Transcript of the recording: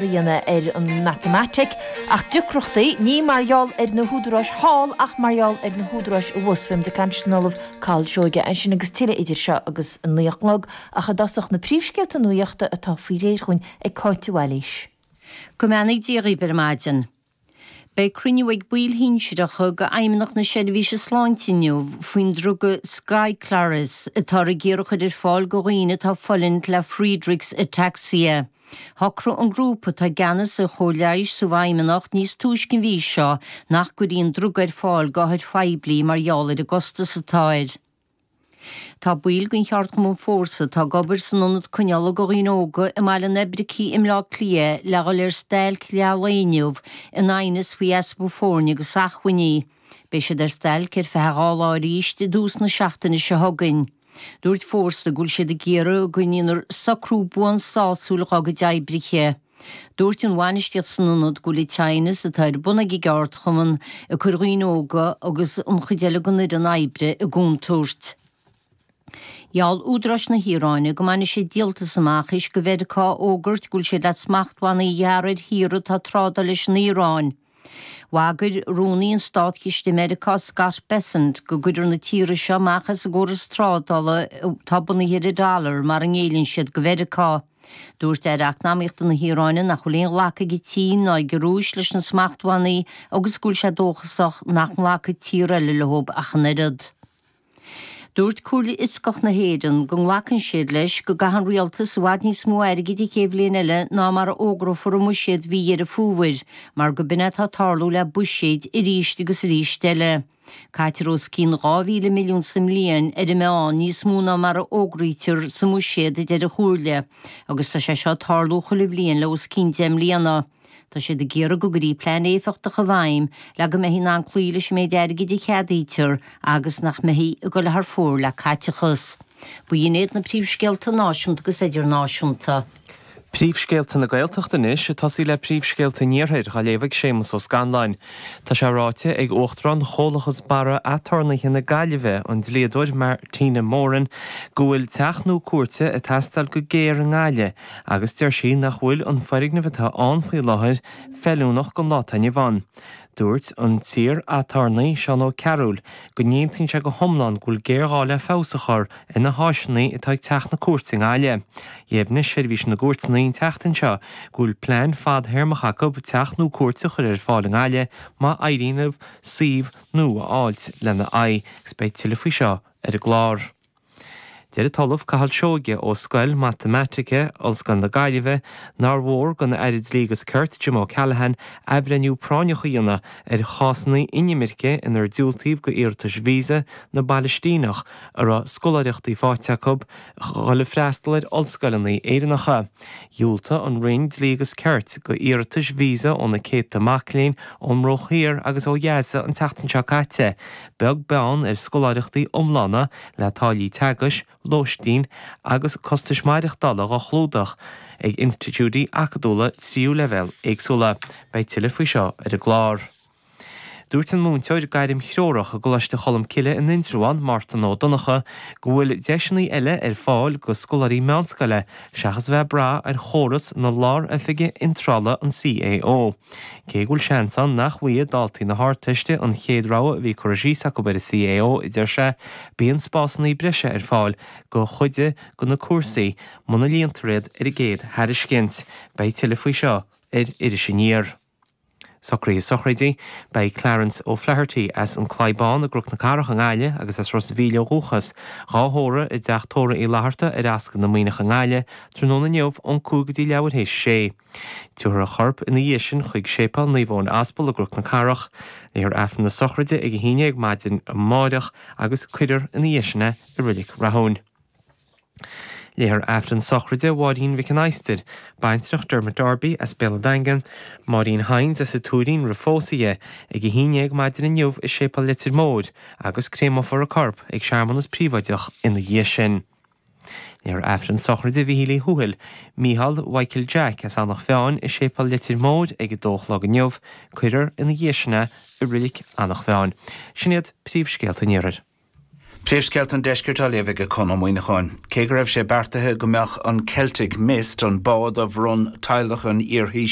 A dhéanamh ar an matamaitic, ach deacrachtaí, ní mar gheall ar na húdaráis thall ach mar gheall ar na húdaráis abhus. Beidh muid ag caint leis an Ollamh Cathal Seoige ansin agus tuilleadh idir seo agus a 9 a chlog, ach i dtosach na príomhscéalta nuachta atá faoi réir chugainn ag Cáit de Bhailís. Go mbeannaí Dia dhaoibh ar maidin. Beidh cruinniú ag baill shinsearacha de Fheidhmeannacht na Seirbhíse Sláinte inniu faoin druga Skyclarys atáthar ag iarraidh a chur ar fáil do dhaoine atá ag fulaingt le Friedreich's Ataxia. Shocraigh an grúpa atá i gceannas ar chóir leighis sa bhFeidhmeannacht níos túisce an mhí seo nach gcuirfí an druga ar fáil d'othair phoiblí mar gheall ar an gcostas atá air. Tá baill den cheardchumann Fórsa atá ag obair san ionad coinneála do dhaoine óga i mBaile an Oibricigh i mBleá Cliath le dhul ar stailc leath lae inniu in aighneas faoi easpa foirne agus acmhainní. Beidh siad ar stailc ar feadh 2 lá arís i dtús na seachtaine seo chugainn. Dúirt Fórsa go bhfuil siad ag iarraidh go ndéanfar socrú buan sásúil dhá gcuid oibrithe. Dúirt an bhainistíocht san ionad go bhfuil an t-aighneas atá ar bun ag an gceardchumann ag cur dhaoine óga agus an chuid eile den fhoireann oibre i gcontúirt. Gheall údaráis na hIaráine go mbainfidh siad díoltas amach théis do Mheiriceá a fhógairt go bhfuil siad le smachtbhannaí a ghearradh ar thíortha atá ag trádáil leis an Iaráin. Bhagair Rúnaí an Státchiste i Meiriceá Scott Bessent go gcuirfear na tíortha seo amach as an gcóras trádála atá bunaithe ar an dollar mara ngéilleann siad do Mheiriceá. Dúirt Aire Eacnamaíochta na hIaráine nach bhfuil aon ghlacadh ag an tSín ná ag an Rúis leis na smachtbhannaí agus go bhfuil sé dóchasach nach nglacfaidh tíortha eile leo ach an oiread. Dúirt Comhairle Fhioscach na hÉireann go nglacann siad leis go gcaithfidh an rialtas i bhfad níos mó airgid an chéad bhliain eile ná mar a fhógrófar i mbuiséad mhí Dheireadh Fómhair, mar go b'in é atá ag tarlú le buiséid arís agus arís eile. Caitear os cionn 2,000 milliún sa mbliain ar an meán, níos mó ná mar a fhógraítear sa mbuiséad, a deir an Chomhairle, agus tá sé seo ag tarlú chuile bhliain le os cionn 10 mbliana. Tá siad ag iarraidh go gcuirfí plean éifeachtach i bhfeidhm le go mbeifí in ann cloí leis an méid airgid a cheadaítear agus nach mbeifí ag dul thar fóir le caiteachas. B'in iad na príomhscéalta náisiúnta agus idirnáisiúnta. Príomhscéalta na Gaeltachta anois, ag tosaí le príomhscéalta an Iarthair, á léamh ag Séamus Ó Scanláin. Tá sé ráite ag Uachtarán Chomhlachas Barra Aturnaetha na Gaillimhe, an dlíodóir Martina Moran, go bhfuil teach nua cúirte ag teastáil go géar i nGaillimh agus deir sí nach bhfuil an foirgneamh atá ann faoi láthair feiliúnach don lá atá inniu ann. Dúirt an t-iar-aturnae Seán Ó Cearúil go n-aontaíonn sé go hiomlán go bhfuil géarghá le feabhas a chur ar na háiseanna atá ag Teach na Cúirte i nGaillimh. Dheimhnigh Seirbhís na gCúirteanna an tseachtain seo go bhfuil plean fadthéarmach acu teach nua cúirte a chur ar fáil i nGaillimh má éiríonn leo suíomh nua a fháilt lena aghaidh agus beidh tuilleadh faoi seo ar an gclár. Deir an tOllamh Cathal Seoige ó Scoil Matamaitice, Ollscoil na Gaillimhe, nár mhór don Aire Dlí agus Cirt, Jim O'Callaghan, athbhreithniú práinneach a dhéanamh ar chásanna inimirce inar diúltaíodh do iarratais visa na bPalaistíneach a raibh scoláireachtaí faighte acu dhul ag freastal ar ollscoileanna Éireannacha. Dhiúltaigh an Roinn Dlí agus Cirt do iarratais visa ó na céadta mac léinn ón mBruach Thiar agus ó Ghaza an tseachtain seo caite, beag beann ar scoláireachtaí iomlána le táillí teagaisc, lóistín agus costais maireachtála dhá chlúdach ag institiúidí acadúla tríú leibhéal éagsúla. Beidh tuilleadh faoi seo ar an gclár. Dúirt an múinteoir gairmthreorach i gColáiste Cholmcille in Indreabhán, Mártan Ó Donnchadha, go bhfuil deiseanna eile ar fáil go scoláirí meánscoile seachas a bheith ag brath ar chóras na Lár-Oifige Iontrála, an CAO. Cé go bhfuil seans ann nach bhfaighidh daltaí na hArdteiste an chéad rogha a bhí curtha síos acu ar an CAO, a deir sé, bíonn spásanna breise ar fáil go chuid de na cúrsaí muna líontar iad ar an gcéad thairiscint. Beidh tuilleadh faoi seo ar Iris Aniar. Socruithe sochraide, Beidh Clarence O'Flaherty as an Claí Bán i gCnoc na Cathrach i nGaillimh agus as Ros a' Mhíl ó dhúchas, dhá thórramh i dTeach Tórraimh Uí Fhlatharta ar Ascaill na Muimhneach i nGaillimh tráthnóna inniu ón 5 go dtí leathuair théis a sé. Tabharfar a chorp ina dhiaidh sin chuig Séipéal Naomh Eoin Aspal i gCnoc na Cathrach. Léifear Aifreann na sochraide ag 11 maidin amáireach agus cuirfear ina dhiaidh sin é i Reilig Rathúin. Léifear Aifreann sochraide Mháirín Mhic an Adhastair, baintreach Dermot Darby as Béal an Daingin, Máirín Hynes as an Tuairín roimh phósadh di, ag 11 maidin inniu i Séipéal Leitir Móir agus créamófar a corp ag searmanas príobháideach ina dhiaidh sin. Léifear Aifreann sochraide Mhíchíl Uí Thuathail, Mícheál Mhichael Jack as Eanach Mheáin i Séipéal Leitir Móir ag 2 a chlog inniu. Cuirfear ina dhiaidh sin é i Reilig Eanach Mheáin. Sin iad príomhscéalta an Iarthair. Príomhscéalta an Deiscirt á léamh ag Conn Ó Muíneacháin. Cé go raibh sé beartaithe go mbeadh an Celtic Mist, an bád a bhronn teaghlach an iarThaoisigh.